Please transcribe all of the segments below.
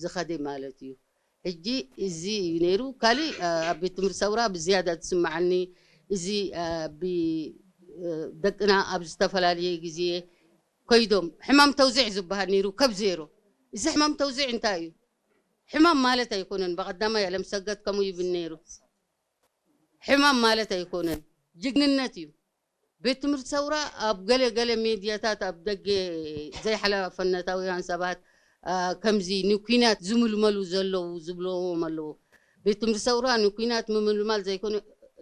ዝኸደ ማለት እዩ። ሕጂ እዚ እዩ ነይሩ። ካሊእ ኣብ ቤት ትምህርቲ ሰውራ ብዝያዳ ዝስምዓኒ እዚ ደቅና ኣብ ዝተፈላለየ ግዜ ከይዶም ሕማም ተውዚዕ ዝበሃል ነይሩ። ከብ ዜሮ እዚ ሕማም ተውዚዕ እንታይ እዩ? ሕማም ማለት ኣይኮነን። ብቐዳማይ ኣለምሰገድ ከምኡ ይብል ነይሩ። ሕማም ማለት ኣይኮነን፣ ጅግንነት እዩ። ቤት ትምህርቲ ሰውራ ኣብ ገለ ገለ ሜድያታት ኣብ ደገ ዘይሓላፍነታውያን ሰባት ከምዚ ንኲናት ዝምልመሉ ዘለዉ ዝብልዎም ኣለዉ። ቤት ትምህርቲ ሰውራ ንኲናት ምምልማል ዘይኮነ፣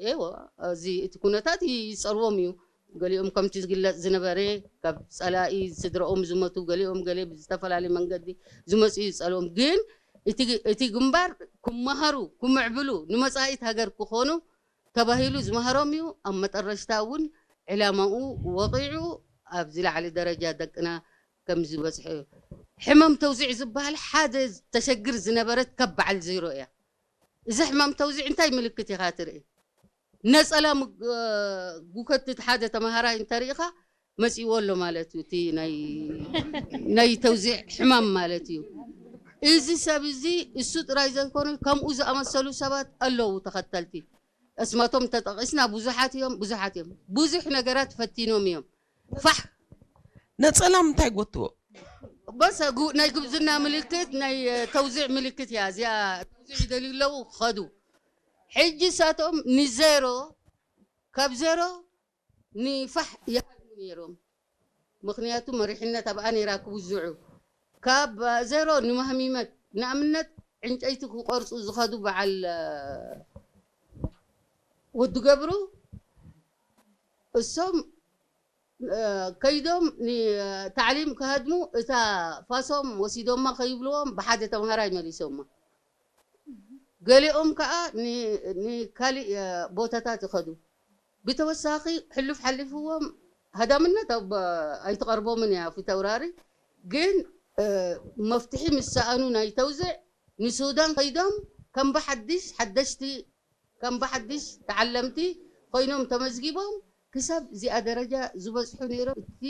ኤወ፣ እዚ እቲ ኩነታት ይጸርዎም እዩ። ገሊኦም ከምቲ ዝግለጽ ዝነበረ ካብ ጸላኢ ስድራኦም ዝመቱ፣ ገሊኦም ገለ ብዝተፈላለየ መንገዲ ዝመጹ ይጸልዎም። ግን እቲ ግንባር ክመሃሩ፣ ክምዕብሉ፣ ንመጻኢት ሃገር ክኾኑ ተባሂሉ ዝመሃሮም እዩ። ኣብ መጠረሽታ እውን ዕላማኡ ወቒዑ ኣብዚ ላዕሊ ደረጃ ደቅና ከም ዝበጽሑ እዩ። ሕመም ተውዚዕ ዝበሃል ሓደ ተሸግር ዝነበረት ካብ በዓል ዜሮ እያ። እዚ ሕማም ተውዚዕ እንታይ ምልክት ኢኻ ትርኢ? ነጸላ ጉከትት ሓደ ተምሃራይ እንተርኢኻ መጺዎ ኣሎ ማለት እዩ። እቲ ናይ ተውዚዕ ሕማም ማለት እዩ። እዚ ሰብ እዚ እሱ ጥራይ ዘይኮነ ከምኡ ዝኣመሰሉ ሰባት ኣለዉ ተኸተልቲ። እስማቶም ተጠቒስና ብዙሓት እዮም፣ ብዙሓት እዮም። ብዙሕ ነገራት ፈቲኖም እዮም። ፋሕ ነጸላ ምንታይ ጎትዎ? በሰ ናይ ጉብዝና ምልክት ናይ ተውዚዕ ምልክት እያ እዚኣ። ተውዚዕ ይደልዩ ኣለዉ ክኸዱ። ሕጂ እሳቶም ንዜሮ ካብ ዜሮ ንፋሕ ይሃድሙ ነይሮም። ምኽንያቱ መሪሕነት ኣብኣ ነይራ ክውዝዑ። ካብ ዜሮ ንማህሚመት ንኣብነት ዕንጨይቲ ክቆርፁ ዝኸዱ በዓል ወዲ ገብሩ እሶም ከይዶም ታዕሊም ክሃድሙ እታ ፋሶም ወሲዶማ ከይብልዎም ብሓደ ተምሃራይ መሊሶማ። ገሊኦም ከዓ ንካሊእ ቦታታት ይኸዱ። ብተወሳኺ ሕሉፍ ሓሊፍዎም ሃዳምነት ኣይትቐርቦምን እያ ፊተውራሪ። ግን መፍትሒ ምስ ሰኣኑ ናይ ተውዝዕ ንሱዳን ከይዶም ከም ብሓድሽ ሓደሽቲ ከም ብሓድሽ ተዓለምቲ ኮይኖም ተመዝጊቦም ክሳብ እዚኣ ደረጃ ዝበፅሑ ነይሮም። እቲ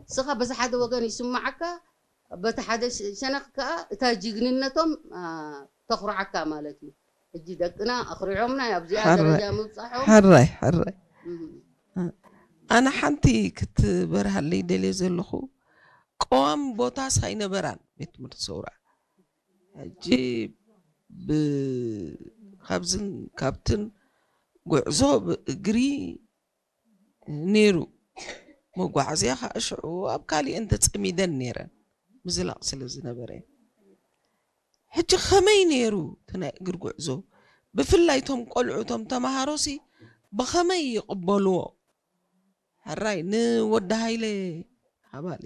ንስኻ በዚ ሓደ ወገን ይስማዓካ፣ በቲ ሓደ ሸነኽ ከዓ እታ ጅግንነቶም ተኹርዓካ ማለት እዩ። ሕጂ ደቅና ኣኹሪዖምና ኣብዚኣ ደረጃ ምብፃሖም። ሕራይ ሕራይ። ኣነ ሓንቲ ክትበርሃለይ ደልየ ዘለኹ ቀዋሚ ቦታስ ኣይነበራን ቤት ትምህርቲ ሰውራ። ሕጂ ካብዝን ካብትን ጉዕዞ ብእግሪ ነይሩ። መጓዓዝያ ከዓ ሽዑ ኣብ ካሊእን ተፀሚደን ነይረን ምዝላቕ ስለ ዝነበረ። ሕጂ ከመይ ነይሩ እቲ ናይ እግሪ ጉዕዞ? ብፍላይ እቶም ቆልዑ እቶም ተምሃሮሲ ብኸመይ ይቕበልዎ? ሕራይ ንወዲ ሃይለ ሃባሊ።